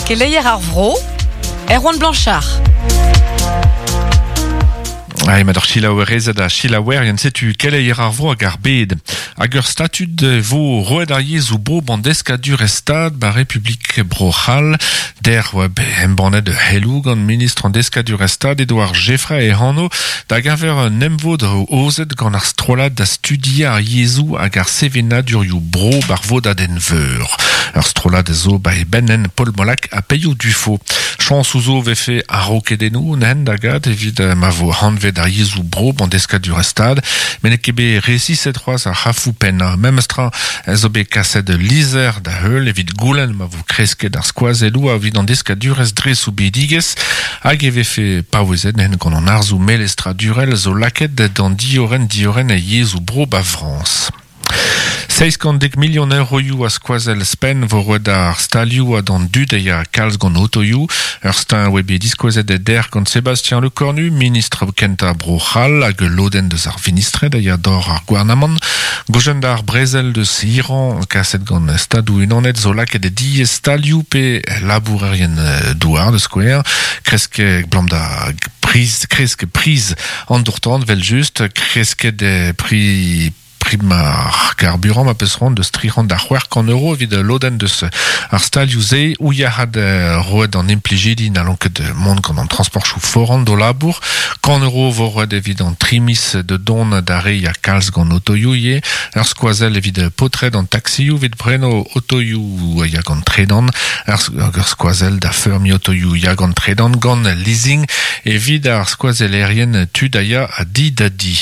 Keleier ar vro, Erwan Blanchard. Ai, mat ur selaouerezed ha selaouerien, setu keleier ar vro hag ar bed. Hag ur statud vo roet ar yezhoù bro ban deskadurezh stad ba Republik Bro-C'hall. Der oa bet embannet ur c'heloù gant ministr an deskadurezh stad Edouard Geffray e anv da geñver un emvod aozet gant ar strollad da studiañ ar yezhoù hag ar sevenadurioù bro bar vodadenn veur. Ur strollad a zo ba e benn Paul Molac ha Peio Dufaux. Chañsoù zo 'vefe a-raokedennoù n'hen da gad evit ma vo hanvet ar yezhoù bro an deskadurezh stad, met n'eo ket bet resiset c'hoazh ar c'hrafoù pennañ. Memes tra zo bet kaset ul lizher da heul evit goulenn ma vo kresket ar skoazelloù evit an deskadurezh dre soubidigezh hag e vefe paouezet n'hen gant an arzoù melestradurel zo lakaet d'an diorren diorren yezhoù bro ba Frañs. 710 milion euroioù a skoazell spenn vo roet d'ar stalioù ha d'an dud a ya kalz gant otoioù. Ur steuñv oa bet diskouezet dec'h gant Sébastien Lecornu, ministr kentañ Bro-C'hall hag ul lodenn deus ar vinistred a ya d'or ar gouarnamant. Gojenn d'ar brezel deus Iran kaset gant Stadoù-Unanet zo lakaet diaes stalioù pe labourerien douar da skouer. Kresk 'blam da priz kresk priz an dour-tan 'vel-just, kresket pri prim ar carburant ma peus c'hoant deus 300 da 600 euro evit lodenn deus ar stalioù-se ou yac'had roet d'an implijidi n'hallont ket mont gant an transportchoù foran d'o labour. 100 euro vo roet evit an tri miz de dont da re ya kalz gant otoioù ivez. Ur skoazell evit paotred an taxioù evit preno otoioù ya gant tredan. Ur skoazell da feurmiñ otoioù ya gant tredan gant leasing evit ar skoazellerien tud a ya a di da di.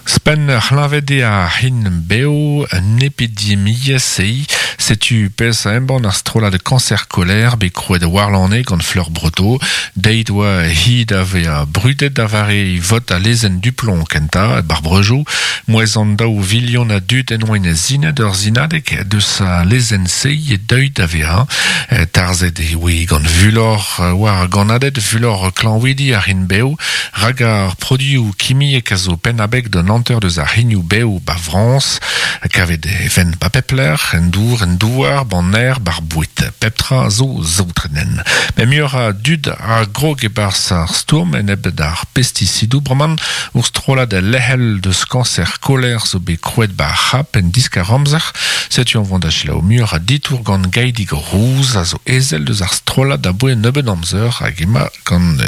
Ouzhpenn ur c'hleñved eo ar c'hin-bev, un epidemiezh eo. Setu pezh a embann ar strollad Cancer Colère bet krouet warlane gant Fleur Breteau. Deit oa hi da vezañ brudet da vare vot al lezenn Duplomb kentañ, bar Breujoù. Mouezh an daou vilion a dud en oa sinet ur sinadeg deus al lezenn-se eo deuet da vezañ. Tarzhet e oe gant fulor war ar gannaded, fulor klañvidi ar c'hin-bev. Rak ar produioù kimiek a zo penn-abeg d'un hanter deus ar c'hignoù-bev 'ba Frañs. Kavet e vent 'ba pep lec'h, en dour, en douar, 'ban aer, 'bar boued. Pep tra a zo saotret. Met muioc'h a dud a grog e-barzh ar stourm enep d'ar pestisidoù bremañ. Ur strollad lec'hel deus kañser koler zo bet krouet 'ba ar C'hap en diskar-amzer. Setu an vont da selaou muioc'h a ditour gant Gaidig Rouz a zo ezel deus ar strollad aboe un nebeud amzer hag emañ gant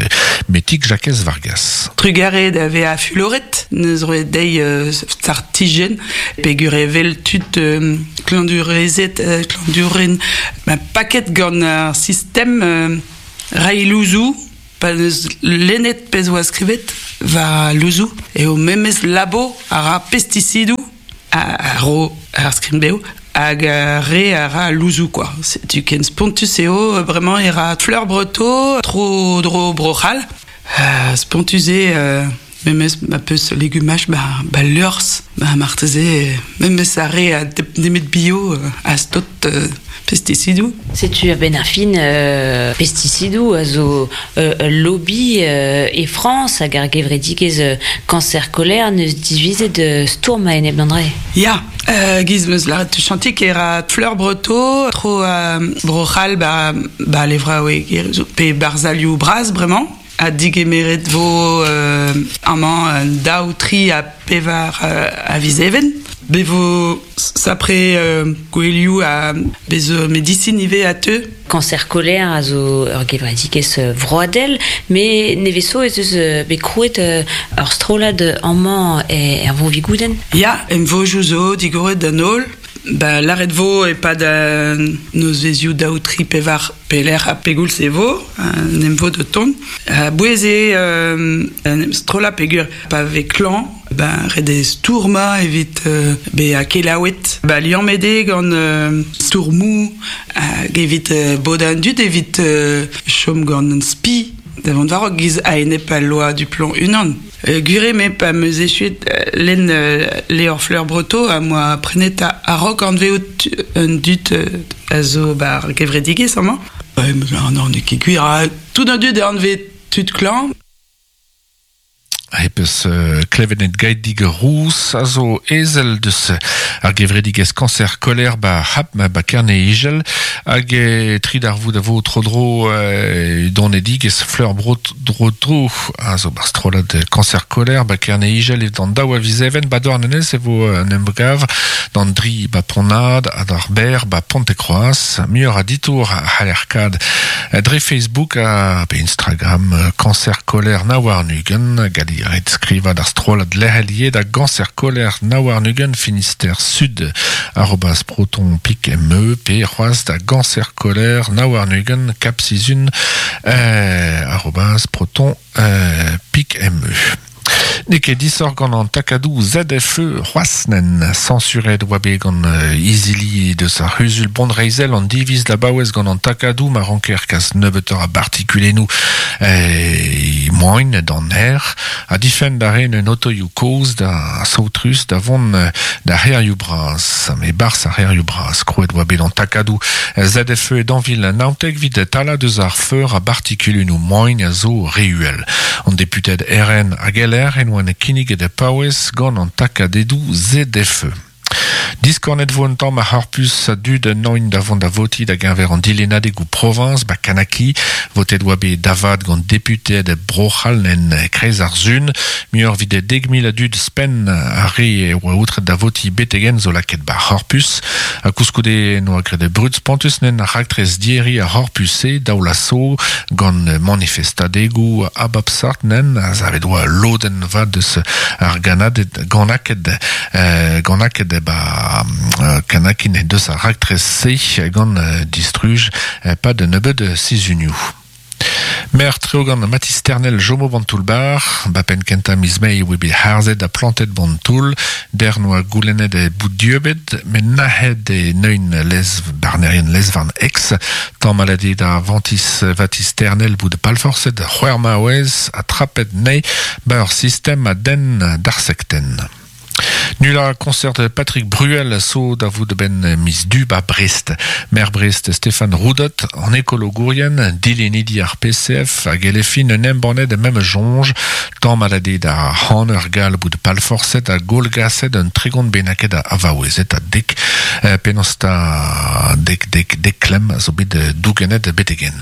Metig Jakez Vargas. Trugarez da vezañ fuloret, neus roet dezhi startijenn peogwir evel tud klañvdurezed, klañvdouren paket gant ar sistem reiñ louzoù pa neus lennet pezh oa skrivet war louzoù eo memes labo a ra pestisidoù a ro ar skrin-bev hag ar re a ra louzoù kwa. Setu ken spontus eo bremañ e ra Fleur Breteau tro-dro Bro-C'hall. Spontus eo memes ma peus legumaj ba, ba liorzh ba marteze memes ar re a nemet bio a stot pestisidoù. Setu a-benn ar fin pestisidoù a zo ul lobby e Frañs hag ar gevredigezh Cancer Colère n'eus divizet stourm a-enep d'an dra. Ya, giz 'meus lâret tuchantik e ra Fleur Breteau tro Bro-C'hall ba, ba levraoueg pe barzhalioù bras bremañ. Ha digemeret vo amañ daou, tri ha pevar a viz Even. Be vo sapre gouelioù ha bez zo medisin ivez a teu. Cancer Colère a zo ur gevredigezh vroadel, met nevez zo ez eus bet krouet ur strollad amañ er Vro-Vigoudenn. Ya, emvojoù zo digoret d'an holl. Ba lâret vo e-pad an nozvezhioù daou, tri, pevar pelec'h ha pegoulz e vo, un emvod o tont. A-bouez eo en em strollañ peogwir pa vez klañv, ben ret eo stourmañ evit bezañ kelaouet. Ba liammet eo gant stourmoù hag evit bodañ an dud, evit chom gant un spi da vont war-raok giz a-enep al loa Duplomb unan. Gwir eo, me pa 'm eus echuet lenn levr Fleur Breteau am boa prenet a-raok anvezout an dud a zo 'ba ar gevredigezh amañ. Non, n'eo ket gwir. Tout an dud a anvez tud klañv. Hep eus klevet Gaedig Rous a zo ezel deus ar gevredigez kancer koler ba hap ba kerne igel hag e tri d'ar vout a vo tro dro donedigez fleur bro dro dro a zo bar strollad kancer koler ba kerne igel e d'an daou a vizeven ba douarnenez e vo un emgav d'an dri ba ponad ha d'ar ber ba Pontekroaz muioc'h a ditour a c'haller dre Facebook ha pe Instagram kancer koler na war-nugen gant ret skriva d'ar strollad lec'helier da gancer koler na war-nugen Finister Sud arobas proton pik me pe c'hoaz da gancer koler na war-nugen cap sizun arobas proton pik me. N'eo ket disoc'h gant an takadoù ZFE c'hoazh-nen sañsuret oa bet gant izili deus ar c'huzul bonreizhel an diviz da baouez gant an takadoù ma ranker kas nebeutoc'h a bartikulennoù moain d'an aer ha difenn da ren un otoioù kozh da saotrus da vont da c'hêrioù bras me barzh ar c'hêrioù bras krouet oa bet an takadoù ZFE d'anvil naontek evit talañ deus ar feur a bartikulennoù moain a zo re uhel. An deputed RN hag LR en oa kinniget paouez gant an takadedoù ZFE. Diskornet vo un tamm ar c'horpus a dud noin da vont da voti da geñver an dilennadegoù proviñs ba Kanaki. Votet oa bet davad gant deputed Bro-C'hall en kreiz ar sun. Muioc'h evit 10,000 a dud spenn ar re e oa outret da voti betegen zo lakaet ba c'horpus. Ha koulskoude noa graet brud spontus nen ar raktres dieri ar c'horpus-se daoulaso gant manifestadegoù a bep sort nen a zavet oa lodenn vat deus ar ganaded ganaket ganaket ba kanakin deus ar raktres-se gant distruj pad nebeud sizhunioù. Mer treo gant Mathis Ternel Jomo Bantoulbar, ba penn kentañ miz Mae oa bet harzet ha plantet Bantoul, der noa goulennet e bout dieubet, met nac'het e neun lez barnerien lezvarn ex, tamm malade da Vantis Vatis Ternel bout palforset c'hwec'h maouez ha trapet nei ba ur sistem a den d'ar sekten. Nula concert Patrick Bruel so da vout ben miz du ba Brest. Maire Brest Stéphane Roudot an ekologourien dilenidi ar PCF hag elefin un embannet mem jonge tamm malade da han ur gal bout palforset a golgaset un tregont bennaket a avaouezet a dek penaos ta dek dek dek klemm a zo bet dougenet betegen.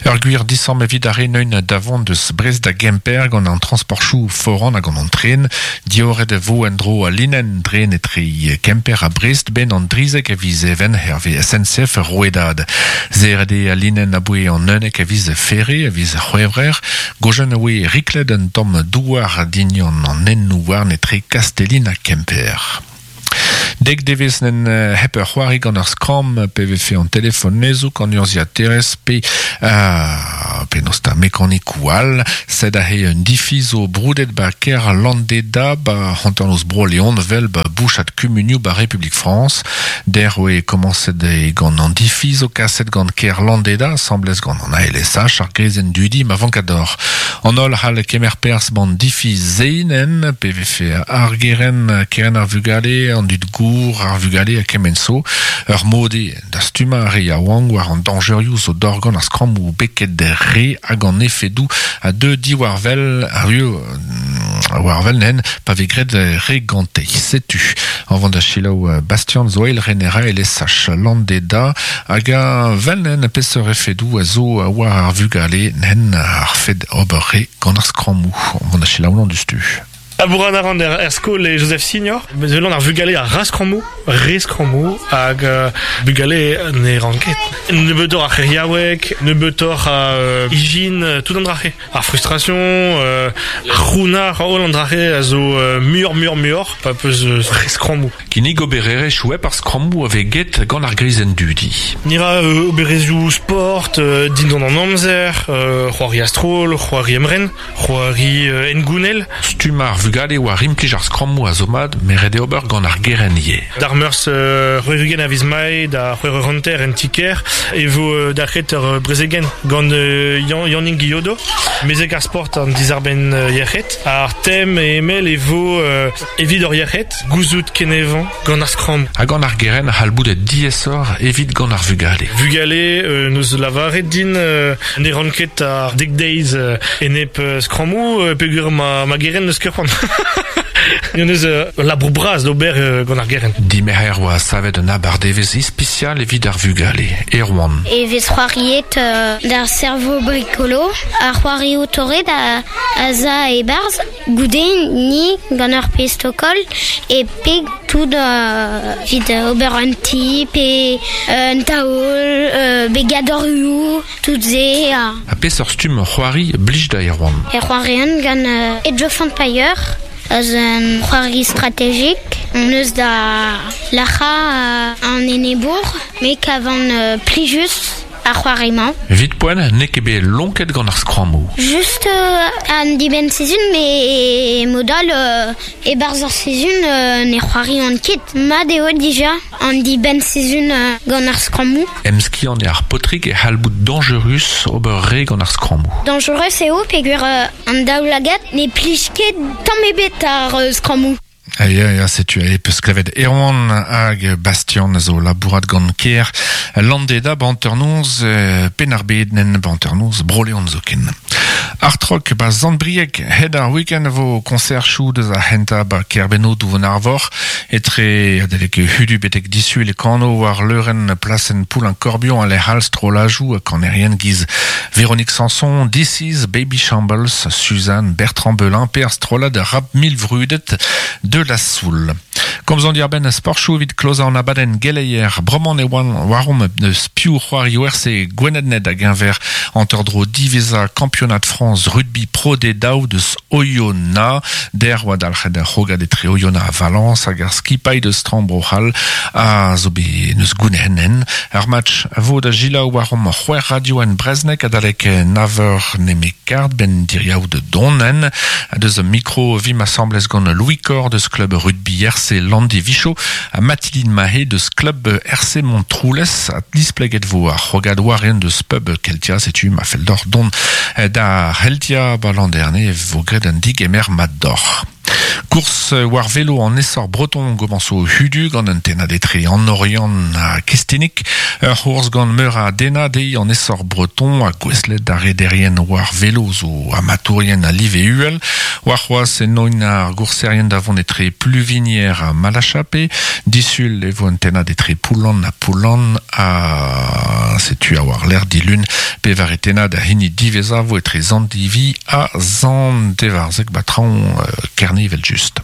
Ur gwir disamm evit ar re neun davont deus Brest da Gemper gant an transportchoù foran hag an tren. Dioret e vo en dro a linen dren etre Kemper ha Brest ben an drizek a viz even herve SNCF rouedad. Zeret eo a linen aboe an unnek a viz ferre a viz c'hwevrer. Gojen a oe riklet un tamm douar dignon an ennoù warn etre Kastellin ha Kemper. Dek devez nen hep ur c'hoari gant ur skramm pe vefe an telefon nezouk an urzhiaterez pe penaos ta mekanikou all sed aze un difi zo broudet ba kêr Landeda ba hanternoz Bro-Leon vel ba bouchad kumunioù ba Republik Frañs. Der oe komañset e gant an difi zo kaset gant kêr Landeda asambles gant an ALSH ar grezenn dudi ma vankador. An holl c'hall kemer perzh ban difi zeinen pe vefe ar geren keren ar vugale an dud gour ar vugale a kement so ur mode da stummañ ar re yaouank war an dañjerioù zo dorgant ar skrammoù beket re hag an efedoù a deu diwar wel ar war wel nen pa vez graet re gante. Setu an vont da selaou Bastian zo eil rener ALSH Landeda hag a vel nen peseurt efedoù a zo war ar vugale nen ar fed ober re gant ar skrammoù. An vont da selaou an dustu. Labourat a ran er skol e Joseph Signor. Bezelon ar vugale a ra skrammoù, re skrammoù, hag bugale ne ran ket. Nebeutoc'h a c'heriaoueg, nebeutoc'h a ijin, tout an drache. Ar frustration, ar c'hounnar, holl an drache a zo muioc'h muioc'h muioc'h, pa peus re skrammoù. Kinnig obererezhioù hep ar skrammoù a vez get gant ar grizenn dudi. Ni ra obererezhioù sport, dindan an amzer, c'hoari a-stroll, c'hoari emren, c'hoari engounel. Stumm ar vugale war implij ar skrammoù a zo mat, met ret eo ober gant ar gerent ivez. D'ar meurzh 60 a viz Mae da c'hwec'h eur hanter en ti-kêr e vo dalc'het ur brezegenn gant Yannig Guillodo, mezeg ar sport an dizarbenn yec'hed. Ar tem e emell e vo evit hor yec'hed, gouzout kenevañ gant ar skramm. Ha gant ar gerent a c'hall bout diaesoc'h evit gant ar vugale. Vugale n'eus lavaret din ne ran ket ar dek deiz enep skrammoù peogwir ma gerent n'eus ket c'hoant. N'eus eus ul labour bras d'ober gant ar gerent. Dimerc'her oa savet un abardevezh ispisial evit ar vugale, Erwan. E vez c'hoariet d'ar servo brikolo, ar c'hoarioù torret a za e-barzh. Goude ni gant ur pezh tokol e peg tout evit ober un ti pe un taol, begadorioù, tout se. Ha peseurt stumm c'hoari blij da Erwan? E c'hoarian gant Age of Empire, eus un c'hoari strategik. On eus da lac'hañ an enebour, me kavan plijus ar c'hoari-mañ. Evit poent, n'eo ket bet lonket gant ar skrammoù. Just an dibenn-sizhun, met mod all, e-barzh ar sizhun ne c'hoarian ket. Mat eo dija an dibenn-sizhun gant ar skrammoù. Emskiant eo ar paotrig e c'hall bout dañjerus ober re gant ar skrammoù. Dañjerus eo peogwir an daoulagad ne plij ket tamm ebet ar skrammoù. Ya, ya, setu e peus klevet Erwan hag Bastian a zo labourat gant kêr Landeda ba hanternoz Penn-ar-Bed nen ba hanternoz Bro-Leon zoken. Art Rock ba Sant-Brieg hed ar week-end vo konserchoù deus ar c'hentañ ba Kerbenno Douvon Arvor etre adalek hudu betek disul e kano war leurenn plasenn Poulain-Corbion a lec'h all strollajoù ha kanerien giz Véronique Sanson, This Is Baby Shambles, Suzanne Bertrand Belin pe ar strollad rap milvrudet de la Soul. Komz an diarbenn sportchoù evit klozañ an abadenn geleier. Bremañ e oan waromp eus piv c'hoario RC Gwened-Ned a-geñver hanter-dro diwezhañ kampionad Frañs rugby Pro D2 deus Oyonnax. Der oa dalc'het ar c'hrogad etre Oyonnax ha Valence hag ar skipailh deus traoñ Bro-C'hall a zo bet neus goune'hen. Ar match a vo da selaou waromp c'hwec'h radio en Brezhoneg adalek nav eur nemet kard benn diriaou da donen. Deus mikro vimp asambles gant Louis Cor deus klub rugby RC Landivicho ha Mathilde Mahé deus klub RC Montroulez ha displeget vo ar c'hrogad war-eeun deus pub Keltia setu ma fell deoc'h dont da C'heltia ba Landerne vo graet un digemer mat deoc'h. Kours war velo an essor breton gomañso hudu gant un tennad etre an Oriant ha Kestinik. Ur c'hourz gant meur a dennad eo an essor breton ha gouestlet d'ar rederien war velo zo amatourien a live uhel. Warc'hoazh enoint ar gourserien da vont etre Pluvigner ha Malachape. Disul e vo un tennad etre Poullan ha Poullan ha setu a war-lerc'h dilun pevare tennad a hini diwezhañ vo etre Sant-Divi ha Sant-Evarzeg ba traoñ Kerne evel-just.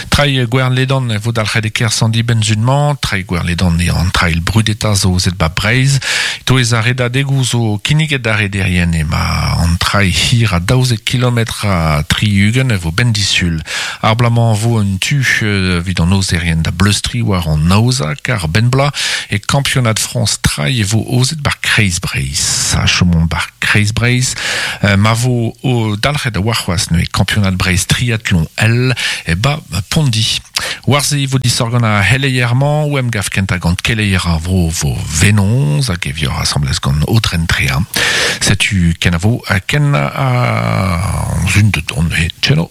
Trailh Gwern-Ledan e vo dalc'het e kerzh an dibenn-sizhun-mañ. Trailh Gwern-Ledan eo an trailh brudetañ zo aozet ba Breizh. E-touez ar redadegoù zo kinniget d'ar rederien emañ an trailh hir a 12 kilometr ha 60 e vo benn disul. Ar bloaz-mañ vo un tu evit an aozerien da bleustriñ war an aozañ kar benn bloaz e kampionad Frañs trailh e vo aozet bar Kreiz Breizh. Ha chomomp bar Kreiz Breizh ma vo dalc'het warc'hoazh neuze kampionad Breizh triatlon L e ba Pondi. War-se e vo disoc'h gant ar c'heleier-mañ o emgav kentañ gant keleier ar vro vo Venoz hag e vioc'h asambles gant Aodren Tréa. Setu kenavo ken a zun de dont neuze. Tcheno.